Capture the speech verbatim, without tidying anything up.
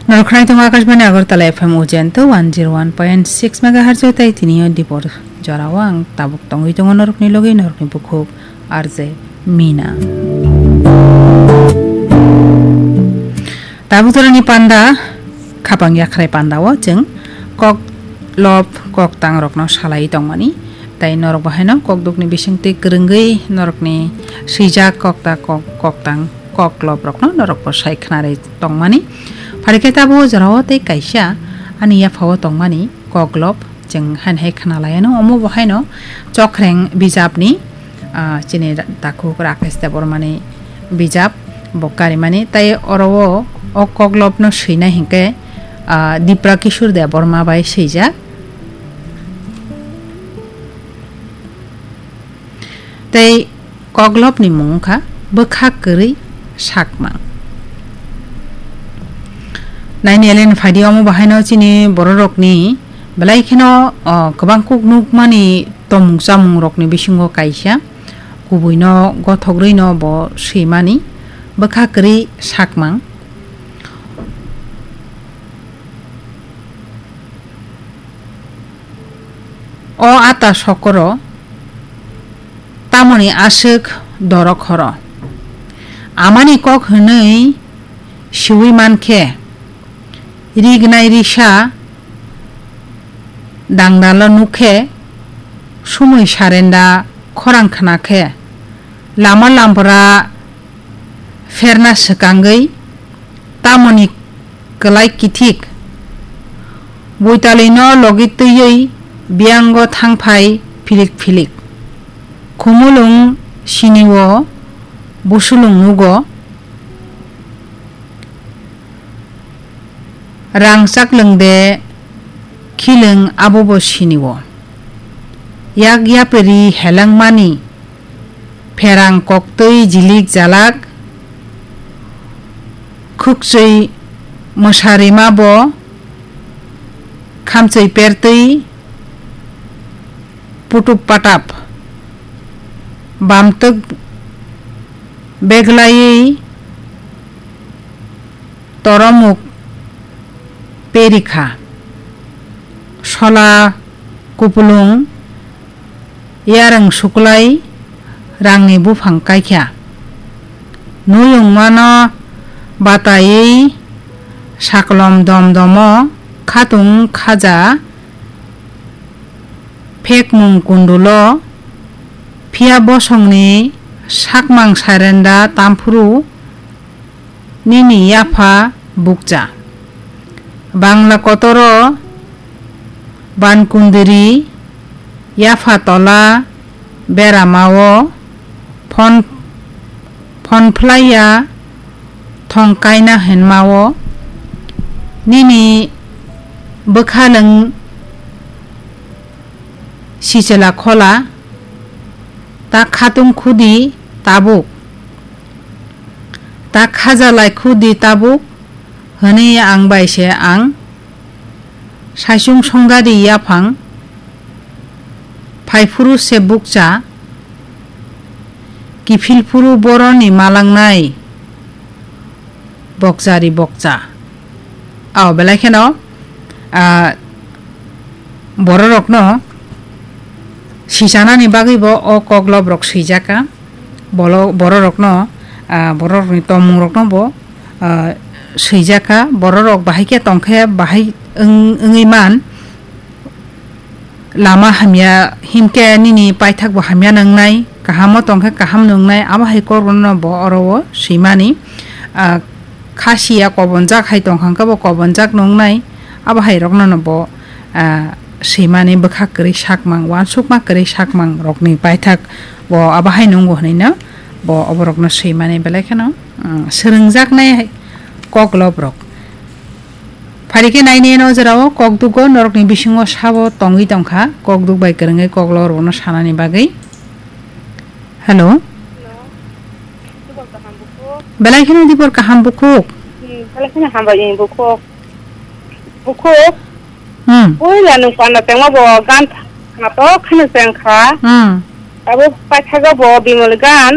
Norok khwnai tongo Akashbani Agartala F M Ujento one zero one point six megahertz o tei tini o dipor jorao ang tabuk tongwi tongo norokni logi norokni bukhuk R J Mina. Tabuk jorani panda khapang yakhrai panda o chwng kok lop kok tang rokno salai tongmani tei norok bahaino kok dukni bisingtwi kwrwngwi norokni swijak kok ta kok kok tang kok lop rokno norok bo sai khwnarwi tongmani. Phari khe tabuk o jorao tei kaisa ani yaphao tongmani kok lop chwng haino hai khwnalaiano omo bo haino Chokreng bijapni, ah, chini takhuk Rakesh Debbarmani bijap bo karimani tei oro o, o kok lopno swinai hinkhe, ah, Dipra Kishore Debbarma bai swijak. Tei koklopni mung wngkha bwkha kwrwi sakmang. Naini elen phaidi omo bahaino chini bororokni belai kheno, o, kwbang kuk nukmani tomung chamungrokni bisingo kaisa kubuino gothogrwino bo swimani bwkha kwrwi sakmang. O ata sokoro tamoni aswk dorok horo? Amani kok hwnwi siwi man khe, rignai risa dangdalo nuk khe, sumui sarenda khorang khna khe, lama lampra pherna swkangwi tamoni kwlai kithik. Buitalino logi twiwi biyango thangphai philik philik. Khumulwng sinio busulwng nugo. Rang chaklwng de khilwng abobo sinio. Yak yapri helengmani pherang koktwi jilik jalak, khukchwi mwsarima bo khamchwi pertwi putup patap bamtwk beglaiwi toromuk perikha. Sola kupulung yarwng suklai rangni buphang kaikha. Nuyungmano bataiwi saklom domdomo khatung khaja phekmung kundulo, phiya bosongni sakmang sarenda tamphuru nini yapha bukcha. Bangla kotoro bankundiri yapha tola beramao phon, phon phlaiya thong kaina hinmao nini bwkhalwng sichela khola ta khatung khudi tabuk. Ta khajalai khudi tabuk, hwnwi ang bai se ang. Saichung songdadi yaphang, phaiphuru se bukcha, kiphilphuru boroni malangnai bokchari bokcha. Ao belai kheno, ah, bororokno sichanani bagwi bo o koklop rok swijaka. Bolo-, bororokno, ah, bororokni tongmungrokno bo, ah, swijaka. Bororok bahai khe tongkhe bahai wng-, wngwi man. Lama hamya hinkhe nini paithakbo hamya nwngnai, kahamo tongkhe kaham nwngnai, abo hai kokrokno bo oro o swimani. Ah, khasiya kobonjak hai tongkha hwnkhe bo kobonjak nwngnai, abo hai rokno no bo, ah, swimani bwkha kwrwi sakmang, uansukma kwrwi sakmang rokni paithak bo abo hai nwngo hwnwi no bo oborokno swimani belai kheno, mm, swrwngjaknai koklop rok. Phari khe naini eno jorao kokduk o norokni bisingo sabo tongwi tongkha, kokduk bai kwrwngwi koklop rokno sanani bagwi. Hello. Hello. Dibor kaham bukhuk. Belai kheno dibor kaham bukhuk. Hmm, belai kheno hambai ni bukhuk. Bukhuk. Hmm. Puila nwng panda tengma bo gan tha to kheno tengkha. Hmm. Abo paithago bo bimol gan.